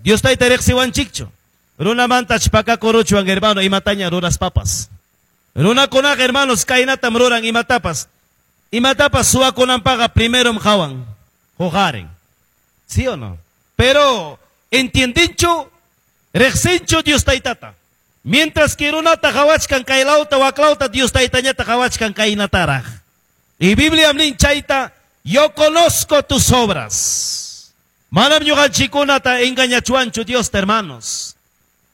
Dios Tayta riqsiwanchikchu. Runamantach pakakuruchwan, hermano, imataña ruraspapas. Runakunaqa, hermanos, kaynatam ruran imatapas. Imatapas suwakunanpaqqa primerom qawan, huqarin. ¿Sí o no? Pero entiendenchu, riqsinchu Dios Taytata. Mientras que runata qawachkan kaylawta waklawta, Dios Taytañata qawachkan kaynataraq. Y Biblia nin chayta, "Yo conozco tus obras." Manam ñuqanchikkunata engañachwanchu Dios, hermanos.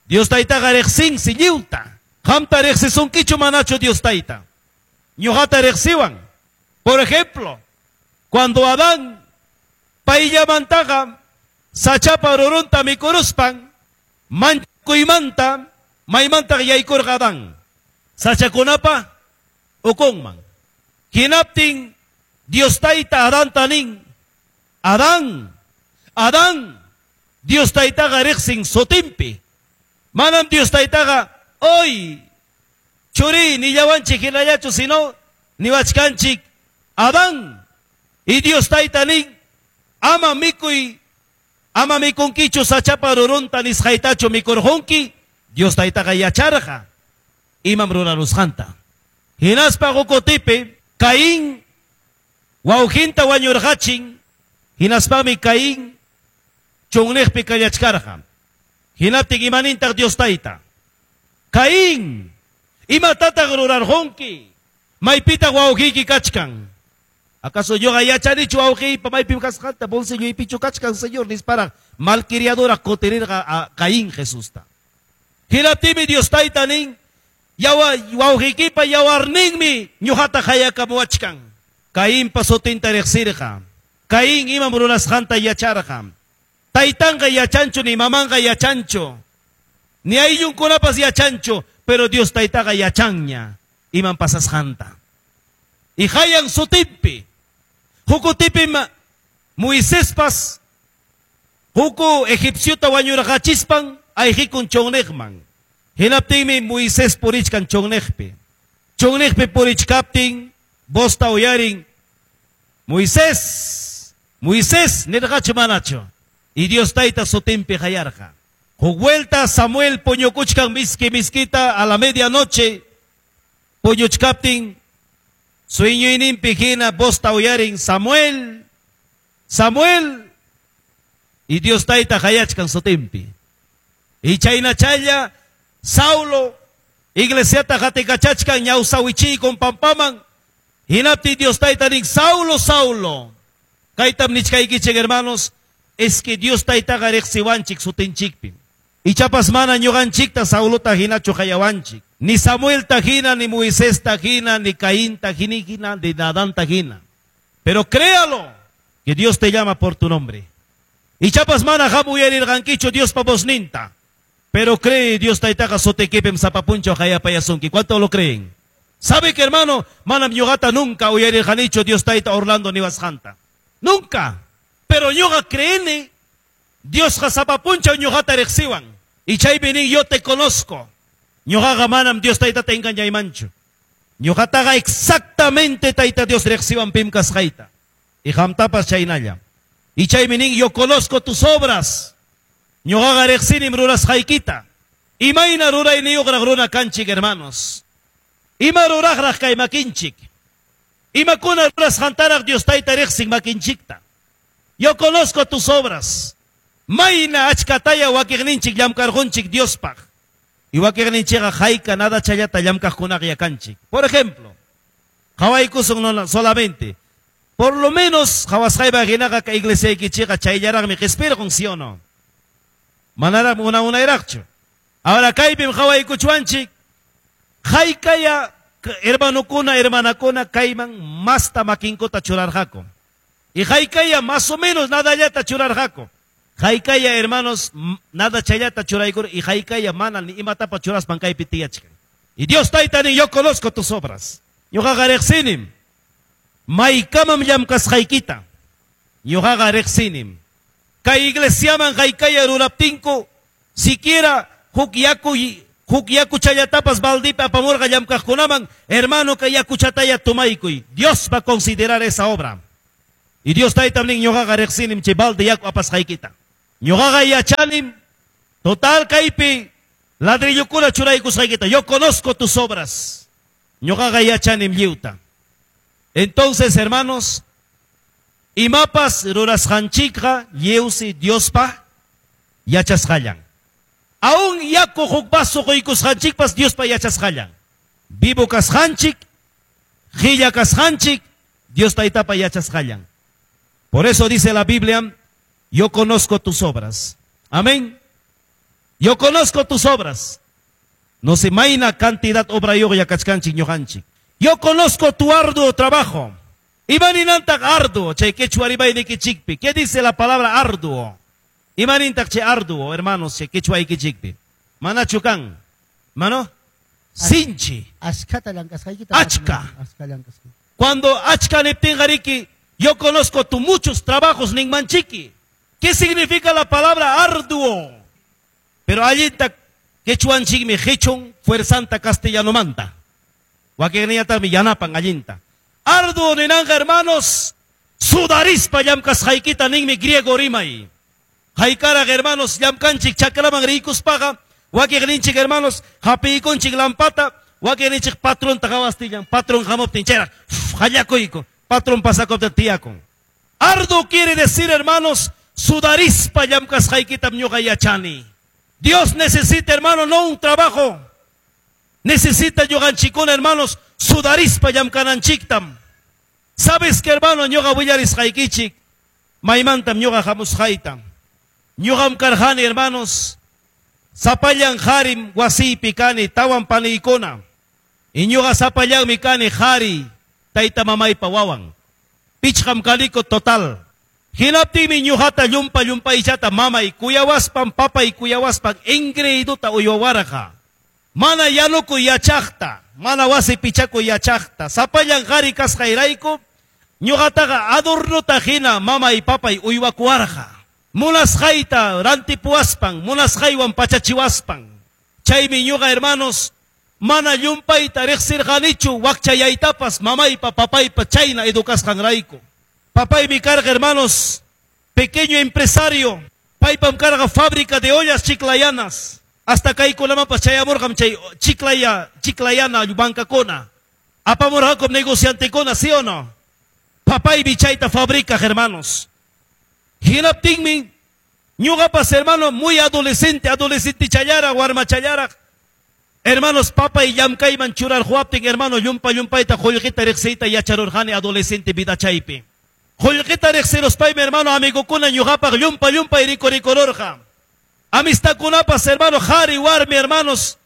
Dios Taytaqa riqsinsi lliwta. Qamta riqsisunkichu manachu Dios Tayta? Ñuqata riqsiwan. Por ejemplo, cuando Adán payllamantaqa sachapa rurunta mikuruspan manchakuymanta maymantaq yaykurqa Adán? Sachakunapa ukunman. Hinaptin Dios Tayta Adanta nin, "Adán, Adán", Dios Taytaqa riqsin sutinpi. Manam Dios Taytaqa "Oy, churi" nillawanchik hinallachu, sino niwachkanchik "Adán". Y Dios Tayta nin, "Ama mikuy, ama mikunkichu sachapa rurunta nisqaytachu mikurqunki?" Dios Taytaqa yacharqa imam rurarusqanta. Hinaspa huk Caín wawqinta wañurqachin, hinaspami Caín chunniqpi kallachkarqa. Hinaptin imanintaq Dios Tayta? "Caín, imatataq rurarqunki? Maypitaq wawqiyki kachkan?" "¿Acaso ñuqa yachanichu wawqiypa maypim kasqanta? Bolsilloypichu kachkan, Señor?" nisparaq malcriadora kutirirqa a Caín Jesusta. Hinaptinmi Dios Tayta nin, "Yawa wawqiykipa yawarninmi ñuqata qayakamuwachkan." Caínpa sutinta riqsirqa. Caín imam rurasqanta yacharqa. Taytanqa yachanchu, ni mamanqa yachanchu, ni ayllunkunapas yachanchu, pero Dios Taytaqa yachanña imam pasasqanta. Y qayan sutinpi. Huk kutipim Moisespas huk egipciota wañurqachispan ayqikun chunniqman. Hinaptinmi Moisés purichkan chunniqpi. Chunniqpi purichkaptin vozta uyarin, "Moisés, Moisés", nirqachu manachu? Y Dios Tayta sutinpi qayarqa. Huk vuelta Samuel puñukuchkan miski miskita a la medianoche puñuchkaptin sueñoyninpi hina vozta uyarin, "Samuel, Samuel", y Dios Tayta qayachkan sutinpi. Y chaynachalla Saulo iglesiata qatikachachkan ñawsa wichiykun pampaman. Hinaptin Dios Tayta nin, "Saulo, Saulo". Kaytam nichkaykichik, hermanos, es que Dios Taytaqa riqsiwanchik sutinchikpi. Ichapas mana ñuqanchikta Saulota hinachu qayawanchik. Ni Samuelta hina, ni Moisesta hina, ni Caínta hina, ni Adanta hina. Pero créalo, que Dios te llama por tu nombre. Ichapas mana qam uyarirqankichu Diospa vozninta. Pero cree, Dios Taytaqa sutiykipim sapa punchaw qayapayasunki. ¿Cuánto lo creen? ¿Sabe que, hermano? Manam ñuqata nunca uyarirqanichu Dios Tayta "Orlando" niwasqanta. Nunca. Pero ñuqa creeni Diosqa sapa punchaw ñuqata riqsiwan. Y chaypi nin, "Yo te conozco". Ñuqaqa manam Dios Taytata engañaymanchu. Ñuqataqa exactamente Tayta Dios riqsiwan pim kasqayta. Y qamtapas chaynalla. Y chaymi nin, "Yo conozco tus obras". Ñuqaqa riqsinim rurasqaykita. Imayna rurayniyuqraq runa kanchik, hermanos? Ima ruraqraq kay makinchik? Imakuna rurasqantaraq Dios Tayta riqsin makinchikta? "Yo conozco tus obras". Mayna achkataya wakiqninchik llamkarqunchik Diospaq. Y wakiqninchikqa hayka nada challata llamkaqkunaqa yakanchik. Por ejemplo, qawaykusun no solamente. Por lo menos qawasqaypa hinaqa kay iglesiaykichikqa chayllaraqmi qispirqun, ¿sí o no? Manaraqmi una unayraqchu. Ahora kaypim qawaykuchwanchik haykaya hermanokuna, hermanakuna kayman masta makinkuta churarqaku. Y haykaya más o menos nadallata churarqaku. Haykaya, hermanos, nada chayllata churaykur y haykaya mana ni imatapa churaspan kaypi tiyachkan. Y Dios Tayta nin, "Yo conozco tus obras". Ñuqaqa riqsinim. Maykamam llamkasqaykita. Ñuqaqa riqsinim. Kay iglesiaman haykaya ruraptinku, siquiera huk yakuchallatapas baldipi apamurqa llamkaqkunaman, "Hermano, kay yakuchataya tomaykuy". Dios va a considerar esa obra. Y Dios Taytam nin, "Ñuqaqa riqsinim chay balde yaku apasqaykita". Ñuqaqa yachanim total kaypi ladrillokuna churaykusqaykita. Yo conozco tus obras. Ñuqaqa yachanim lliwta. Entonces, hermanos, imapas rurasqanchikqa lliwsi Diospa yachasqallan. Aún yaku huk vaso quykusqanchikpas Diospa yachasqallan. Vivo kasqanchik, qilla kasqanchik, Dios Taytapa yachasqallan. Por eso dice la Biblia, yo conozco tus obras. Amén. Yo conozco tus obras. No sé mayna cantidad obrayuq kachkanchik ñuqanchik. Yo conozco tu arduo trabajo. Imaninantaq arduo, chay quechua rimaynikichikpi. ¿Qué dice la palabra arduo? Imanintaq chay arduo, hermanos, chay quechua-ykichikpi. Manachu kan? Mano? Sinchi. Achkata llank'asqaykita. Achka. Achka llank'asqaykita. Cuando achka niptinqariki, yo conozco tu muchos trabajos ninmanchiki. ¿Qué significa la palabra arduo? Pero allinta quechuanchikmi qichun fuerzanta castellanomanta. Wakinniñataqmi yanapan allinta. Arduo ninanqa, hermanos, sudarispa llamkasqaykita ninmi griego rimay. Haykaraq, hermanos, llamkanchik chakraman riykuspaqa, wakiqninchik, hermanos, hapiykunchik lampata, wakiqninchik patronta qawastillan, patron hamuptin chayraq, hallakuyku, patron pasakuptin tiyakun. Arduo quiere decir, hermanos, sudarispa llamkasqaykitam ñuqa yachani. Dios necesita, hermano, no un trabajo. Necesita ñuqanchikuna, hermanos, sudarispa llamkananchiktam. ¿Sabes que, hermano, ñuqa willarisqaykichik? Maymantam ñuqa hamusqayta. Ñuqam karqani, hermanos, sapallan qarim wasiypi kani, tawan paniykuna. Y ñuqa sapallanmi kani qari, tayta mamaypa wawan. Pichqam kaniku total. Hinaptinmi ñuqata llumpa llumpaychata mamay kuyawaspan, papay kuyawaspan, engreídota uywawarqa. Mana yanukuy yachaqta, mana wasi pichakuy yachaqta. Sapallan qari kasqayrayku, ñuqataqa adornota hina mamay papay uywakuwarqa. Munasqayta rantipuwaspan, munasqaywan pachachiwaspan. Chaymi ñuqa, hermanos, mana llumpayta riqsirqanichu wakchayaytapas mamaypa papaypa chayna educasqanrayku. Papaymi karqa, hermanos, pequeño empresario. Paypam karqa fábrica de ollas chiclayanas. Hasta kaykunamanpas chayamurqam chay chiclaya, chiclayana bancakuna. Apamurqakum negociantekuna, ¿sí o no? Papaymi chayta fabrica, hermanos. Hinaptinmi ñuqapas, hermano, muy adolescente, adolescente challara, warma challara. Hermanos, papay llamkayman churarquwaptin, hermano, llumpa llumpayta qullqita riqsiyta yacharurqani adolescente vida chaypi. Qullqita riqsiruspaymi, hermano, amigokuna ñuqapaq llumpa llumpay rikurikururqa. Amistadkunapas, hermano, qhari warmi, hermanos,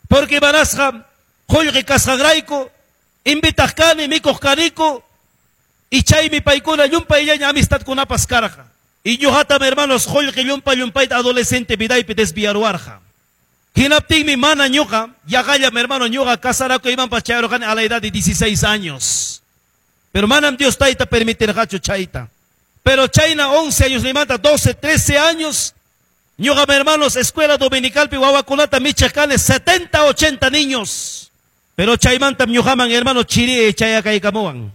porque manasqa qullqi kasqanrayku, invitaq kani, mikuq kaniku, y chaymi paykuna llumpayllaña amistadkunapas karqa. Y ñuqatam, hermanos, qullqi llumpa llumpayta adolescente vidaypi desviaruwarqa. Hinaptinmi mana ñuqa, yaqallam, hermano, ñuqa casarakuymanpas chayarurqani a la edad de 16 años. Pero manam Dios tayta permitirqachu chayta. Pero chayna 11 años nimanta, 12, 13 años, ñuqam, hermanos, escuela dominicalpi wawakunata michiq kani 70, 80 niños. Pero chaymantam ñuqaman, hermano, chiri chayakaykamuwan.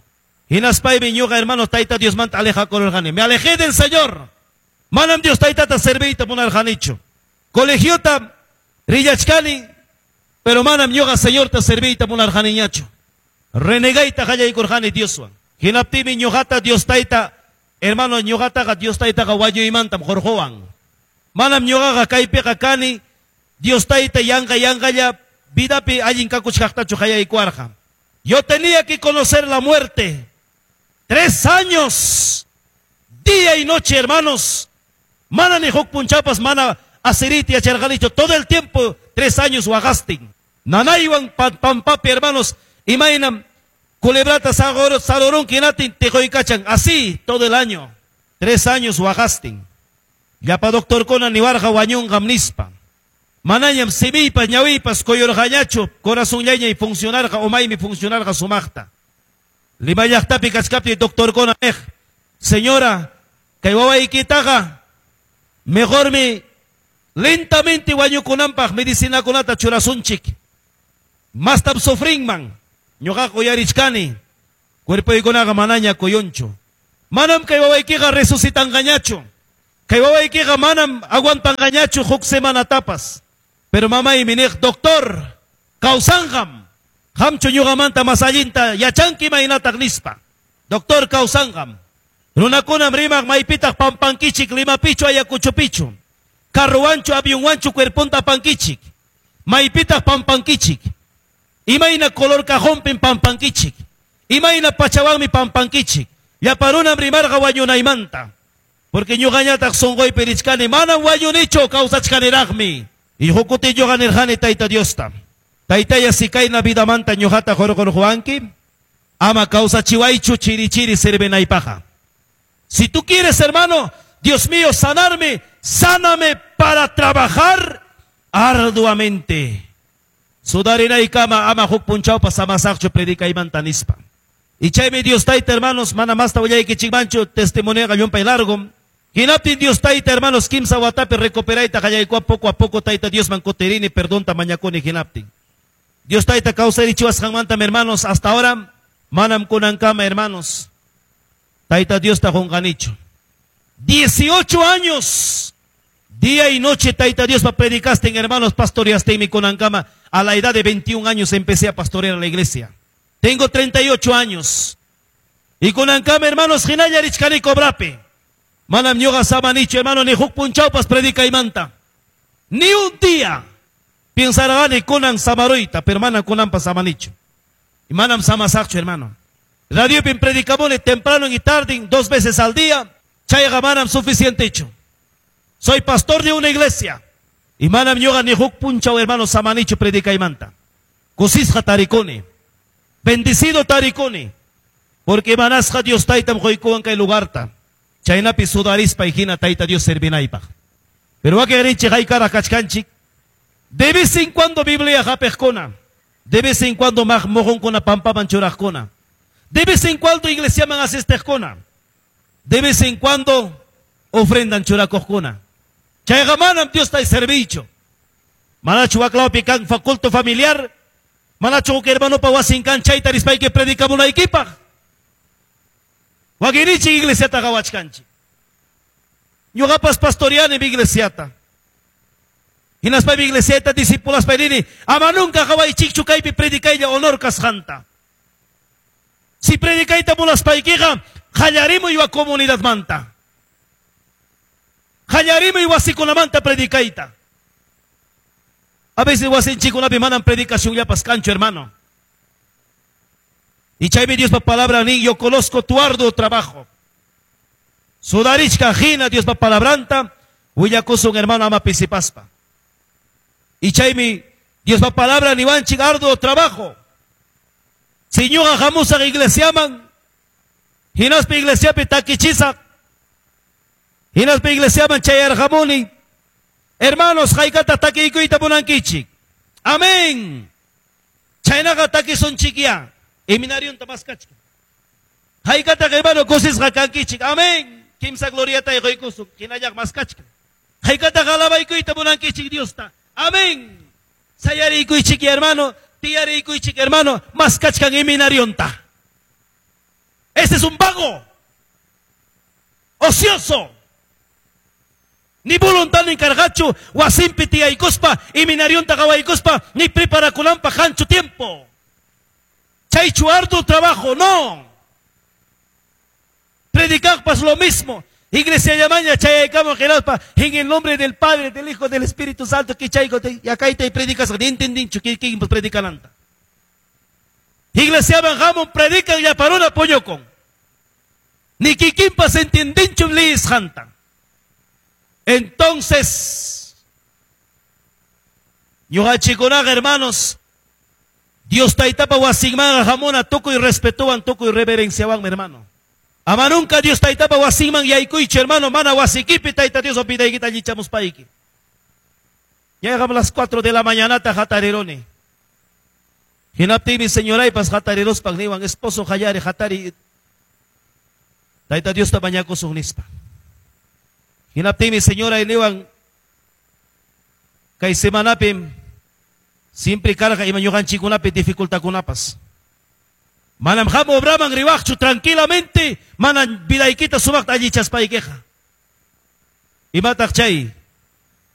Hinaspaymi ñuqa, hermano, tayta Diosmanta alejakururqani. Me alejé del Señor. Manam Dios taytata serviyta munarqanichu. Colegiota rillachkani, pero manam ñuqa Señorta serviyta munarqaniñachu. Renegayta qallaykurqani Dioswan. Hinaptinmi ñuqata Dios tayta, hermano, ñuqataqa Dios taytaqa wañuymantam hurquwan. Manam ñuqaqa kaypiqa kani Dios tayta yanqa yanqalla vidapi allin kakuchkaqtachu qallaykuwarqa. Yo tenía que conocer la muerte. 3 años, día y noche, hermanos. Mana ni huk punchapas, mana asiriti yacharqanichu. Todo el tiempo, 3 años waqastin. Nanaywan pampapi, hermanos, imaynam culebrata sarurun kinatin tiqoykachan. Así todo el año. 3 años waqastin. Llapa doctorkuna niwarqa wañunqam nispa. Manañam simiypas ñawiypas kuyurqañachu, corazonllañay funcionarqa, umaymi funcionarqa sumaqta. Lima llaqtapi kachkaptin doctorkuna niq, señora, kay wawaykitaqa mejormi lentamente wañukunanpaq medicinakunata churasunchik. Mastam sufrinman. Ñuqaqa uyarichkani, cuerpoykunaqa manaña kuyunchu. Manam kay wawaykiqa resucitanqañachu. Kay wawaykiqa manam aguantanqañachu huk semanatapas. Pero mamaymi niq, doctor, kawsanqam. Qamchu ñuqamanta mas allinta yachanki imaynataq nispa. Doctor, kawsanqam. Runakunam rimaq maypitaq pampankichik Limapichu Ayacuchopichu. Carrowanchu avionwanchu cuerponta apankichik. Maypitaq pampankichik. Imayna color cajonpim pampankichik. Imayna pachawanmi pampankichik. Llapa runam rimarqa wañunaymanta. Porque ñuqañataq sunquypi richkani manam wañunichu kawsachkaniraqmi. Y huk kuti ñuqa nirqani Tayta Diosta. Taytaya si kayna vidamanta ñuqata hurqurquwanki, ama kawsachiwaychu chiri chiri sirvinaypaqa. Si tú quieres, hermano, Dios mío, sanarme, sáname para trabajar arduamente. Sudarinaykama ama huk punchawpas samasaqchu predicaymanta nispa. Y chaymi Dios Tayta, hermanos, mana masta willaykichikmanchu testimonioqa llumpay largo. Hinaptin Dios Tayta, hermanos, kimsa watapi recuperayta qallaykuwan poco a poco Tayta Diosman kutirini perdonta mañakuni hinaptin. Dios Tayta kawsarichiwasqanmanta, hermanos, hasta ahora manam kunankama, hermanos, Tayta Diosta qunqanichu. 18 años, día y noche Tayta Diospa predicastin, hermanos, pastoreastinmi kunankama. A la edad de 21 años empecé a pastorear a la iglesia. Tengo 38 años. Y kunankama, hermanos, hinalla richkani cobrapi. Manam ñuqa samanichu, hermano, ni huk punchawpas predicaymanta. Ni un día. Pensarani kunan samaruyta, pero manam kunanpas samanichu. Y manam samasaqchu, hermano. Radiopim predicamuni temprano y tarde, 2 veces al día. Chayqa manam suficientechu. Soy pastor de una iglesia. Y manam ñuqa ni huk punchaw, hermano, samanichu predicaymanta. Kusisqa tarikuni. Bendecido tarikuni. Porque manasqa Dios Taytam quykuwan kay lugarta. Chaynapi sudarispa hina Tayta Dios servinaypaq. Pero wakinrinchik haykara kachkanchik. De vez en cuando Biblia hapiqkuna. De vez en cuando mujunkuna pampaman churaqkuna. De vez en cuando iglesiaman asistiqkuna. De vez en cuando ofrendan churakuqkuna. Chayqa manam Diosta servicho. Manachu waklawpi kan culto familiar. Manachu huk hermanopa wasin kan chayta rispayki predicamunaykipaq. Wakinninchik iglesiata qawachkanchik. Ñuqapas pastoreani mi iglesiata. Hinaspaymi iglesiata discipulaspay nini, ama nunca qawaychikchu kaypi predicaylla honor kasqanta. Si predicayta munaspaykiqa, qallarimuy wa comunidadmanta. Qallarimuy wasikunamanta predicayta. A veces wasinchikunapi manam predicacionllapas kanchu, hermano. Y chaymi Diospa palabra nin, yo conozco tu arduo trabajo. Sudarichka hina Diospa palabranta, willakusun hermano ama pisipaspa. Y chaymi Diospa palabra niwanchik arduo trabajo. Si ñuqa hamusaq iglesiaman, hinaspa iglesiapi takichisaq, hinaspa iglesiaman chayarqamuni, hermanos, haykata takiykuyta munankichik. Amén. Chaynaqa takisunchikya. Eminarionta maskachka. Haykataq hermano kusisqa kankichik. Amén. Kimsa gloriata quykusun. Hinallaq maskachka. Haykataq alabaykuyta munankichik Diosta. Amén. Sayariykuychik hermano, tiyariykuychik hermano, maskachkan eminarionta. Ese es un vago. Ocioso. Ni voluntad ni karqachu, wasinpi tiyaykuspa, eminarionta qawaykuspa, ni preparakunanpaq kanchu tiempo. Chaychu arduo trabajo, no. Predicaqpas lo mismo. Iglesia llamaña chayaykamo hinaspa en el nombre del Padre, del Hijo, del Espíritu Santo, que chayko yakayta y predicas, ni entendinchu kikinpas predicananta. Iglesia hamun predican yaparuna puñukun. Ni kikinpas entendinchu liyisqanta. Entonces, ñuqachikunaqa, hermanos, Dios Taytapa wasinmanqa hamuna tukuy respetuwan, tukuy reverenciawan, mi hermano. Ama nunca Dios Taytapa wasinman yaykuychu, hermano, mana wasikipi Tayta Dios opidaykita allichamuspayki. Llegamos a las 4 de la mañana hatariruni. Hinaptinmi señoraypas hatariruspan niwan, esposo hayari hatari. Tayta Diosta mañakusun nispa. Hinaptinmi señora niwan, kay semanapim siempre karqa ima ñuqanchikkunapi dificultadkunapas. Manam hamu obraman riwaqchu tranquilamente, mana vidaykita sumaqta allichaspaykiqa. Imataq chay?